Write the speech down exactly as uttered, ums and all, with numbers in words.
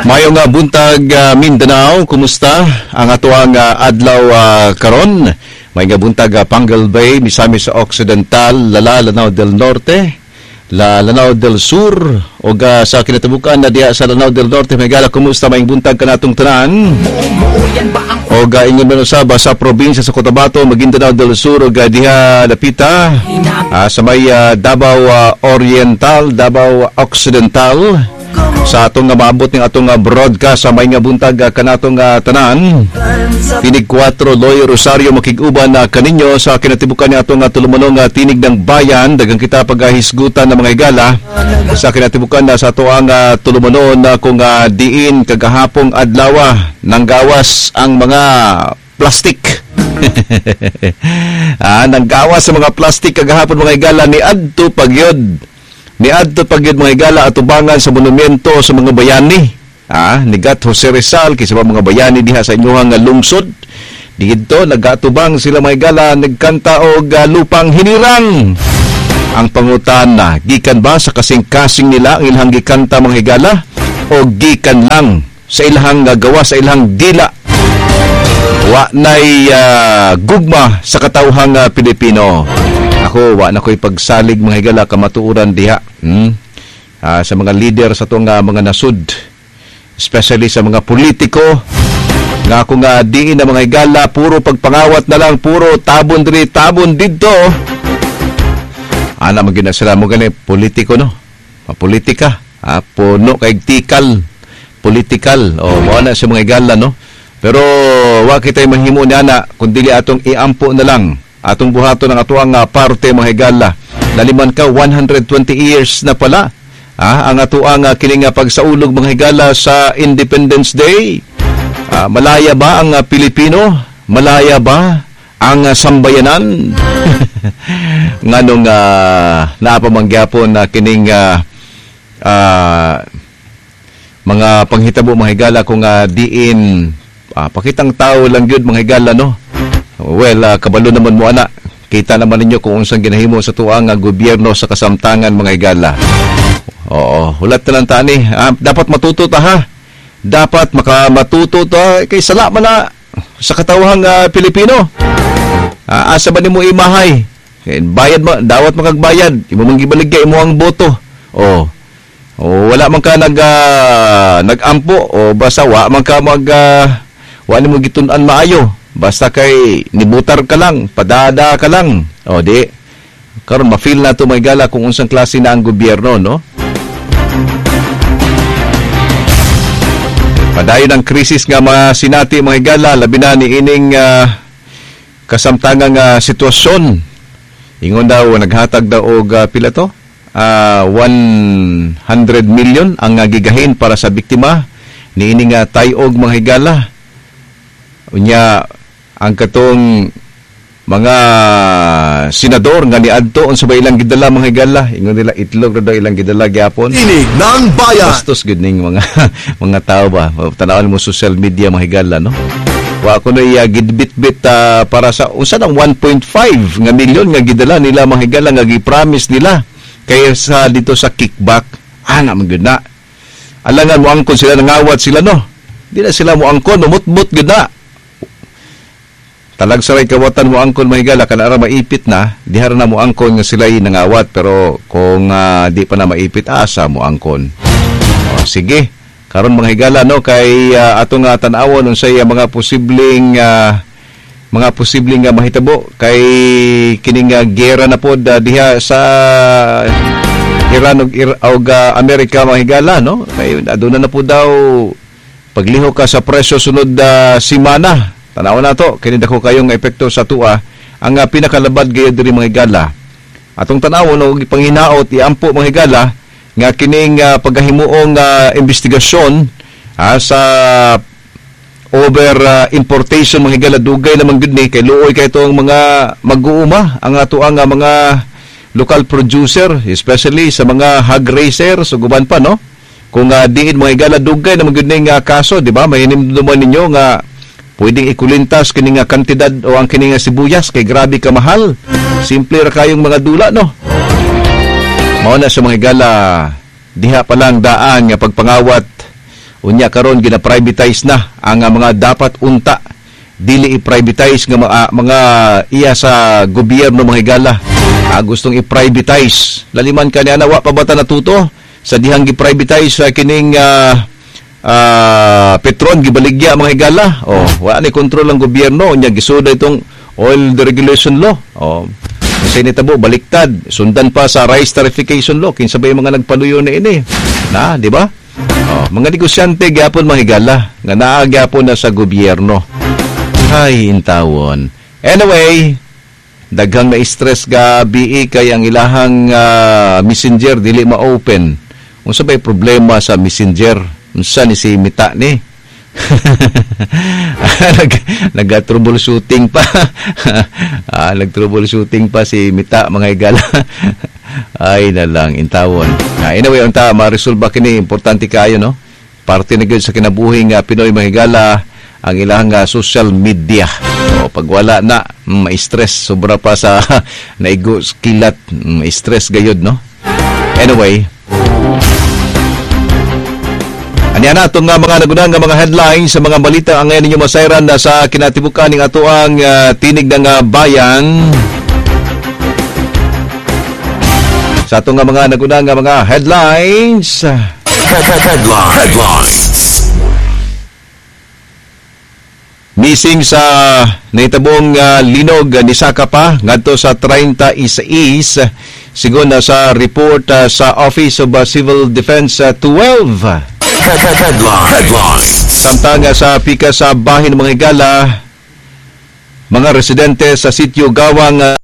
Maayong nga buntag uh, Mindanao, kumusta ang atoang uh, adlaw uh, karon? Maayong nga buntag uh, Panguil Bay, Misamis Occidental, Lala, Lanao del Norte, La Lanao del Sur, ug uh, sa kinatabukan na diha sa Lanao del Norte, mga higala, kumusta maayong buntag kanatong tanan? Og uh, ingon man usab sa probinsya sa Cotabato, Maguindanao del Sur ug uh, diha dapita uh, sa may uh, Davao uh, Oriental, Davao Occidental, sa atong nga maabot ning atong nga broadcast sa maayong nga buntag uh, kanatong uh, tanan. Tinig kuwatro, Loy Rosario makig-uban na kaninyo sa kinatibukan ni atong uh, tulumonong uh, Tinig ng Bayan. Daghang kita paghisgutan ng mga higala sa kinatibukan na sa atoang uh, tulumonon na kung uh, diin kagahapong adlaw nanggawas ang mga plastic. ah, nanggawas sa mga plastic kagahapon, mga higala, ni adto pagyod. Ni adto pagyod, mga higala, atubangan sa monumento sa mga bayani. Ah, ni Gat Jose Rizal kaysa mga bayani diha sa inyuhang lungsod. Didto nagatubang sila, mga higala, nagkanta og uh, Lupang Hinirang. Ang pangutana, gikan ba sa kasing-kasing nila ang ilang gikanta, mga higala, o gikan lang sa ilang gawa, sa ilang dila? Wa nay uh, gugma sa katawhang uh, Pilipino. Ako, wa na ko'y pagsalig, mga higala, kamatuoran diha. Hmm? Uh, sa mga leader sa itong uh, mga nasud, especially sa mga politiko, nga ako nga diin na, mga higala, puro pagpangawat na lang, puro tabon diri, tabon didto. Ana man gyud na sila mo gani politiko, no? Politika, ah, puno kay tikal, political. O mao na sa mga higala, no? Pero wa kitay mahimo ni ana kun dili atong iampo na lang. Atong buhaton ang atoang uh, parte, mga higala. Laliman ka one hundred twenty years na pala. Ah, ang atoang uh, kining uh, pagsaulog, mga higala, sa Independence Day. Ah, malaya ba ang uh, Pilipino? Malaya ba ang uh, sambayanan? Nganong uh, naa pa man gyapon na kining uh, uh, mga panghitabo, mga higala, kung uh, diin uh, pakitang tao lang gyud, mga higala, no? Well, uh, kabalo naman mo ana. Kita naman ninyo kung unsang ginahimo sa tuang uh, gobyerno sa kasamtangan, mga higala. Oo, hulat na lang tani. Ah, dapat matuto ta, ha. Dapat makamatuto ta kay sala man na sa katawhang uh, Pilipino. Ah, asa ba nimo imahay? Kay bayad mo, dawat makagbayad. Imo man gibaligya imo ang boto. Oh. Oh, wala man ka nag uh, nagampo o basta wa man ka mag uh, wa nimo gitun-an maayo. Basta kay nibutar ka lang, padada ka lang. O di karon ma-feel na to, mga higala, kung unsang klase na ang gobyerno, no? Padayon ang krisis nga mga sinati, mga higala, labi na ni ining uh, kasamtangang uh, sitwasyon. Ingon daw naghatag daw og uh, pila to? Uh, one hundred million ang uh, gigahin para sa biktima ni ining uh, tayog, mga higala. Unya ang katong mga senador nga niadto, unsa ba ilang gidala, mga higala? Ingon nila itlog ra daw ilang gidala gyapon. Tinig ng Bayan. Bastos gud ning mga mga tao ba. Tan-awon mo social media, mga higala, no? Wa ko na uh, gidbit-bit uh, para sa unsa nang one point five nga milyon nga gidala nila, mga higala, nga gi-promise nila kay sa dito sa kickback. Ana man gud na. Alangan mo angkon sila, nangawat sila, no? Di na sila mo angkon, umutbot gud na. Talag saray kawatan mo angkon, mga higala, kana ra maipit na, dihara na mo angkon nga sila nangawat, pero kung uh, di pa na maipit, asa mo angkon? O, sige. Karon, mga higala, no, kay uh, ato nga tan-awon unsay uh, mga posibleng uh, mga posibleng uh, mahitabo kay kining uh, gera na pod uh, diha sa Iran ug og uh, Amerika, mga higala, no? Kay aduna na po daw paglihok ka sa presyo sunod uh, simana. Tanaw na to, kini dako kayong epekto sa tua. Ang uh, pinakalabad gayud diri, mga higala. Atong tan-awon og ipanghinaot, iampo, mga higala, nga kining uh, pagkahimuong uh, investigasyon uh, sa over uh, importation, mga higala, dugay naman gud ni kay luoy kay itong mga mag-uuma ang atoang uh, mga local producer, especially sa mga hog raisers ug uban pa, no? Kung uh, diin, mga higala, dugay naman gud ning uh, kaso, di ba? Mahinumduman ninyo nga pwedeng ikulintas kini nga kantidad o ang kini nga sibuyas kay grabe ka mahal. Simple ra kayong mga dula, no? Mao na sa mga higala, diha pa lang daan nga pagpangawat Unya karon gina-privatize na ang ah, mga dapat unta dili i-privatize nga mga, mga iya sa gobyerno, mga higala. Ah, gustong i-privatize. Laliman ka niya, wa pa ba ta natuto sa dihang gi-privatize sa kining ah, ah, Petron, gibaligya, mga higala? Oh, wa ni kontrol ang gobyerno. Unya gisuda itong oil deregulation law. Oh, kasi nitabo baliktad, sundan pa sa rice tarification law. Kinsa ba yung mga nagpaluyo na ini na, di ba? Oh, mga negosyante gyapon, mga higala, nga naa gyapon na sa gobyerno. Ay, intawon. Anyway, daghang na-stress gabi kay ang ilahang ah, messenger dili ma-open. Unsa bay problema sa messenger? Unsa ni si Meta ni? Nag nag-troubleshooting pa. ah, nag-troubleshooting pa si Meta, mga higala. Ay na lang intawon. Ah, anyway, unta ma-resolve ba kini, importante kayo, no? Parte na gyud sa kinabuhi nga Pinoy, mga higala, ang ilang ah, social media. O pag wala na, mm, ma-stress sobra pa sa naigo kilat, mm, ma-stress gayud, no? Anyway, aniya na itong nga mga nagunang nga mga headlines sa mga balita ang ngayon ninyo masayran na sa kinatibukan ng atoang ah, tinig ng ah, bayan. Sa atong nga mga nagunang nga mga headlines, Headline. Headlines. Missing sa nahitabong uh, linog uh, ni Saka pa ngadto sa thirty-six sigon na sa report uh, sa Office of uh, Civil Defense uh, twelve. Headline. Headlines. Samtang uh, sa pika sa bahin ng mga higala, mga residente sa sitio Gawang uh,